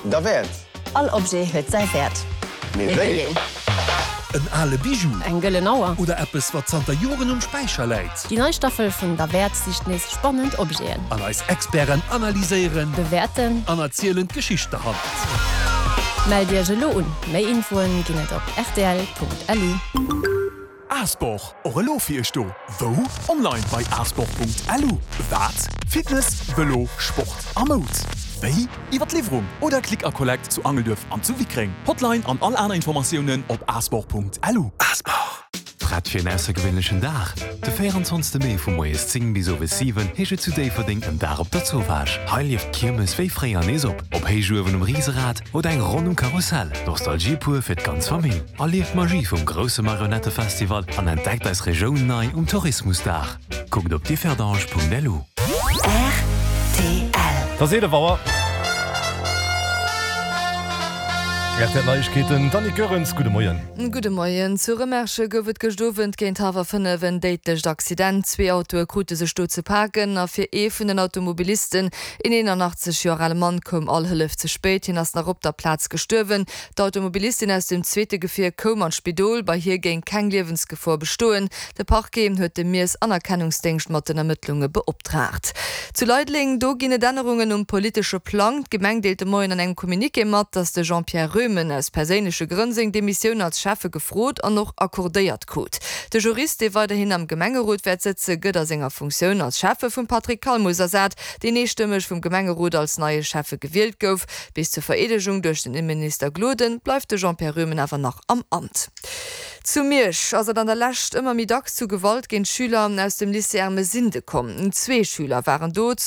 Derwäert! All Objet huet säi Wäert. Mee wéi een? En ale Bijou. Eng gëllen Auer. Oder eppes, wat zanter Joren um Späicher läit. Déi nei Staffel vun Derwäert sicht nees spannend Objeten. An eis Experten analyséieren. Bewäerten. An erzielen d'Geschicht derhannert. Mellt Iech elo un! Méi Infoen ginn et op rtl.lu. Asport, och elo fir iech do! Wou? Online bei asport.lu. Wat? Fitness, Vëlo, Sport a Moud. Wéi? Iwwer d'Liwwerung oder Click a Collect zu Angelduerf an zu Wickreng. Hotline an all aner Informatiounen op asport.lu. Asport! Prett fir en aussergewéinlechen Dag? De 24 Mee vu moies 10 bis owes 7 heescht et zu Déifferdeng en Dag op der Zowaasch. Hei lieft d'Kiermes wéi fréier nees op. Op Héichuewen um Riserad oder eng Ronn um Karussell. Nostalgie pur fir d'ganz Famill. Erlieft d'Magie vum grousse Marionettefestival an entdeckt eis Regioun nei um Tourismusdag. Kuckt op differdange.lu. Rtl. Et ass 11 Auer. Rtl Neiegkeeten, d'Annick Goerens, gudde Moien. Gudde Moien. Zu Remerschen gouf et gëscht Owend géint hallwer 5 en déidlecht Accident. Zwee Autoe krute sech do ze paken a fir ee vun den Automobilisten, een 81 Joer ale Mann, koum all Hëllef ze spéit. Hien ass nach op der Plaz gestuerwen. D'Automobilistin aus dem zweete Gefier koum an d'Spidol. Bei hir géing keng Liewensgefor bestoen. De Parquet huet de Miess-Anerkennungsdéngscht mat den Ermëttlunge beoptraagt. Zu Leideleng, do ginn et Ännerungen um politesche Plang. D'Gemeng deelt de Moien an engem Communiqué mat, datt de Jean-Pierre Roemen aus perséinleche Grënn seng Demissioun als Schäffe gefrot an och accordéiert krut. De Jurist, dee weiderhin am Gemengerot wäert sëtze, gëtt a senger Funktioun als Schäffe vum Patrick Calmus ersat, deen eestëmmeg vum Gemengerot als neie Schäffe gewielt gouf. Bis zur Vereedegung duerch den Inneminister Gloden bleift de Jean-Pierre Roemen awer nach am Amt. Zu Miersch ass et an der Lescht ëmmer méi dacks zu Gewalt géint Schüler aus dem Lycée Ermesinde komm. Zwee Schüler waren do.